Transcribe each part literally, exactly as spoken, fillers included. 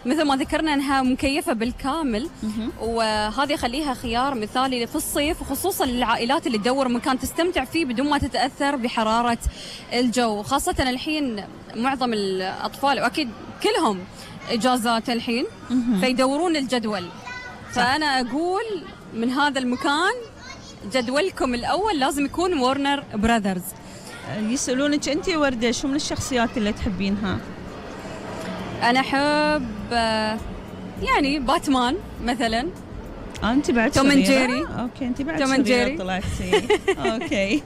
مثل ما ذكرنا أنها مكيفة بالكامل، وهذا يخليها خيار مثالي في الصيف، وخصوصا للعائلات اللي تدور مكان تستمتع فيه بدون ما تتأثر بحرارة الجو. خاصة الحين معظم الأطفال وأكيد كلهم إجازات الحين فيدورون الجدول. فأنا أقول من هذا المكان جدولكم الأول لازم يكون وارنر براذرز. يسألونك أنت يا وردة شو من الشخصيات اللي تحبينها؟ أنا أحب يعني باتمان مثلا. آه أنت بعد توم اند جيري. أوكي أنت بعد توم اند جيري طلعتي. أوكي.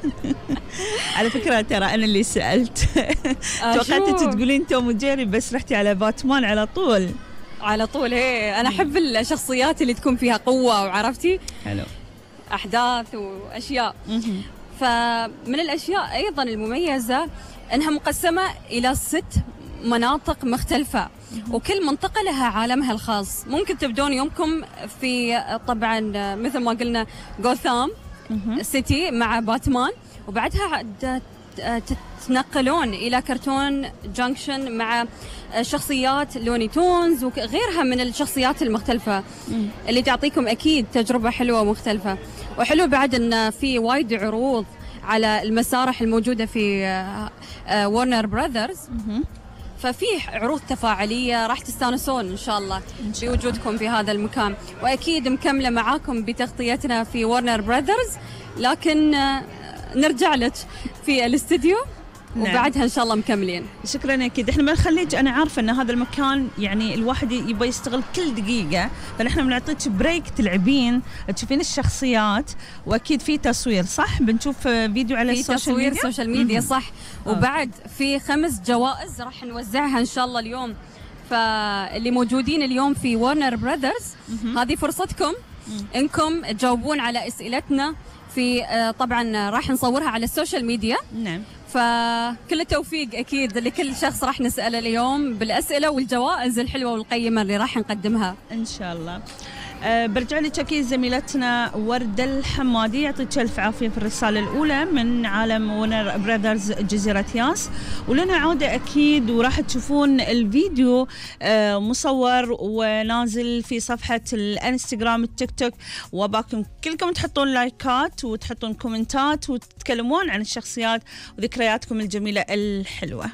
على فكرة ترى أنا اللي سألت. توقعتي تقولين توم اند جيري بس رحتي على باتمان على طول. على طول هي. أنا أحب الشخصيات اللي تكون فيها قوة وعرفتي. حلو. أحداث وأشياء. فمن الأشياء أيضا المميزة أنها مقسمة إلى ست مناطق مختلفة، وكل منطقة لها عالمها الخاص. ممكن تبدون يومكم في طبعا مثل ما قلنا غوثام سيتي مع باتمان، وبعدها تتنقلون إلى كرتون جانكشن مع شخصيات لوني تونز وغيرها من الشخصيات المختلفة اللي تعطيكم أكيد تجربة حلوة ومختلفة. وحلو بعد أن في وايد عروض على المسارح الموجودة في وارنر براذرز، ففي عروض تفاعلية راح تستانسون إن شاء الله بوجودكم في هذا المكان. وأكيد مكملة معاكم بتغطيتنا في وارنر براذرز، لكن نرجع لك في الاستديو. نعم. وبعدها إن شاء الله مكملين. شكرا. أكيد إحنا بنخليك، أنا عارفة أن هذا المكان يعني الواحد يبغى يستغل كل دقيقة، فنحن بنعطيك بريك تلعبين تشوفين الشخصيات، وأكيد في تصوير صح؟ بنشوف فيديو على السوشيال ميديا. في تصوير سوشيال ميديا صح. وبعد في خمس جوائز راح نوزعها إن شاء الله اليوم. فاللي موجودين اليوم في وارنر براذرز هذه فرصتكم إنكم تجاوبون على أسئلتنا في طبعا راح نصورها على السوشيال ميديا. نعم. فكل التوفيق أكيد لكل شخص راح نسأله اليوم بالأسئلة والجوائز الحلوة والقيمة اللي راح نقدمها إن شاء الله. أه برجع لك أكيد زميلتنا وردة الحمادي، يعطيك ألف عافية في الرسالة الأولى من عالم وارنر براذرز جزيرة ياس. ولنا عودة أكيد، وراح تشوفون الفيديو أه مصور ونازل في صفحة الانستغرام التيك توك، وباكم كلكم تحطون لايكات وتحطون كومنتات وتتكلمون عن الشخصيات وذكرياتكم الجميلة الحلوة.